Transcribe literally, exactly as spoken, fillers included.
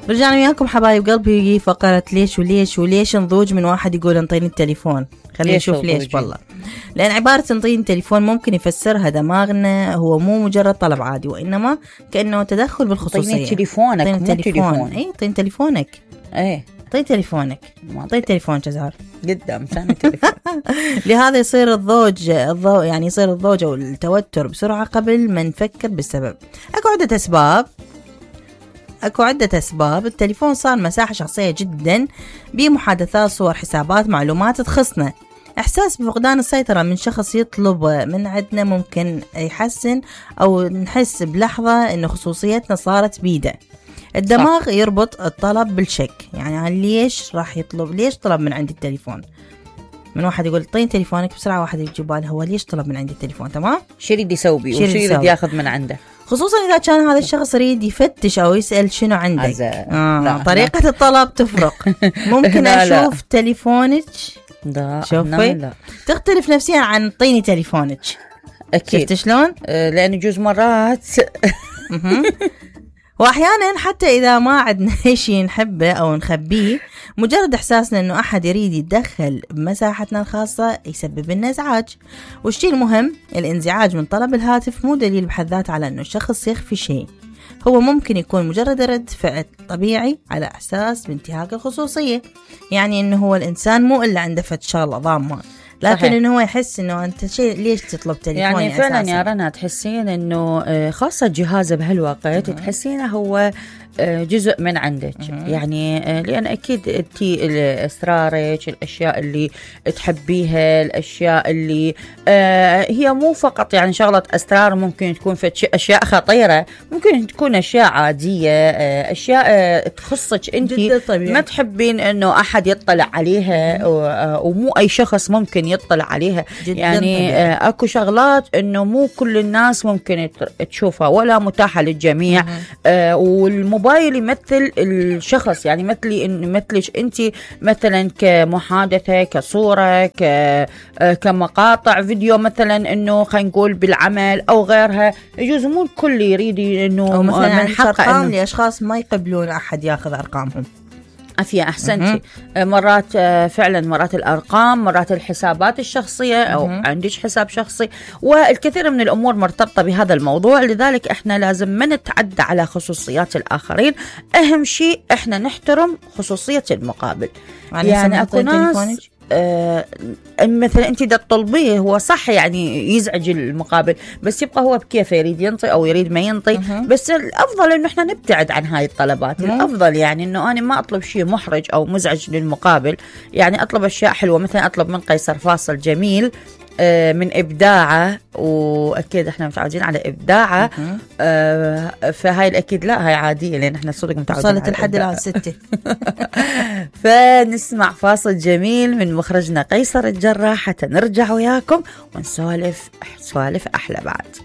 رجعنا وياكم حبايب قلبي فقرة ليش وليش وليش نضوج من واحد يقول انطيني التليفون. خلينا نشوف ليش. والله لأن عبارة انطيني التليفون ممكن يفسرها دماغنا هو مو مجرد طلب عادي، وإنما كأنه تدخل بالخصوصية. انطيني تليفونك مو تليفون. تليفون. اي انطيني تليفونك. ايه انطيني تليفونك. انطيني تليفون جزار قدام ثاني تليفون. لهذا يصير الضوج الضو يعني يصير الضوج أو التوتر بسرعة قبل ما نفكر بالسبب. أكو عدة أسباب أكو عدة أسباب. التليفون صار مساحة شخصية جدا بمحادثات، صور، حسابات، معلومات تخصنا. إحساس بفقدان السيطرة من شخص يطلب من عندنا ممكن يحسن أو نحس بلحظة إنه خصوصيتنا صارت بيده. الدماغ يربط الطلب بالشك، يعني ليش راح يطلب، ليش طلب من عندي التليفون. من واحد يقول طين تليفونك بسرعة، واحد يجي باله هو ليش طلب من عندي التليفون. تمام، شو يريد يسوي بيه وشو يريد ياخذ من عنده، خصوصا إذا كان هذا الشخص يريد يفتش أو يسأل شنو عندك. آه لا طريقة لا. الطلب تفرق. ممكن لا أشوف لا. تليفونك شوفي تختلف نفسيا عن طيني تليفونك. أكيد. شفت شلون؟ أه لأن يجوز مرات وأحيانا حتى إذا ما عندنا شيء نحبه أو نخبيه، مجرد إحساسنا إنه أحد يريد يتدخل بمساحتنا الخاصة يسبب لنا إزعاج. والشيء المهم، الانزعاج من طلب الهاتف مو دليل بحد ذاته على إنه الشخص يخفي شيء، هو ممكن يكون مجرد رد فعل طبيعي على إحساس بانتهاك الخصوصية. يعني إنه هو الإنسان مو إلا عنده فد شغلة ضامة، لكن صحيح. إنه هو يحس إنه أنت شيء ليش تطلب تليفوني يعني فعلا أساساً. يا رنا تحسين إنه خاصة جهازه بهالوقت تحسينه هو جزء من عندك. يعني لأن أكيد أنت أسرارك، الأشياء اللي تحبيها، الأشياء اللي هي مو فقط يعني شغلة أسرار، ممكن تكون في أشياء خطيرة، ممكن تكون أشياء عادية، أشياء تخصك أنت ما تحبين إنه أحد يطلع عليها، ومو أي شخص ممكن يطلع عليها. يعني طبيعي. أكو شغلات إنه مو كل الناس ممكن تشوفها ولا متاحة للجميع. والموبايل موبايل يمثل الشخص، يعني مثلي إن مثلش أنت مثلا كمحادثة، كصورة، ك كمقاطع فيديو مثلا، إنه خلينا نقول بالعمل أو غيرها. يجوز مو الكل يريد إنه من حقه أرقام لأشخاص ما يقبلون أحد يأخذ أرقامهم. أفيا أحسنتي. مرات فعلا مرات الأرقام، مرات الحسابات الشخصية أو عندك حساب شخصي، والكثير من الأمور مرتبطة بهذا الموضوع. لذلك إحنا لازم ما نتعدى على خصوصيات الآخرين. أهم شيء إحنا نحترم خصوصية المقابل. يعني أكو ناس آه مثلا انت دا تطلبيه، هو صح يعني يزعج المقابل، بس يبقى هو بكيفه، يريد ينطي او يريد ما ينطي. أه. بس الافضل انه احنا نبتعد عن هاي الطلبات. أه. الافضل يعني انه انا ما اطلب شيء محرج او مزعج للمقابل، يعني اطلب اشياء حلوه. مثلا اطلب من قيصر فاصل جميل آه من إبداعه، وأكيد إحنا متعودين على إبداعه. آه فهاي الأكيد لا، هاي عادية لأن إحنا صدق متعودين. صارت الحد الآن ستة. فنسمع فاصل جميل من مخرجنا قيصر الجراح حتى نرجع وياكم ونسولف سوالف أحلى بعد.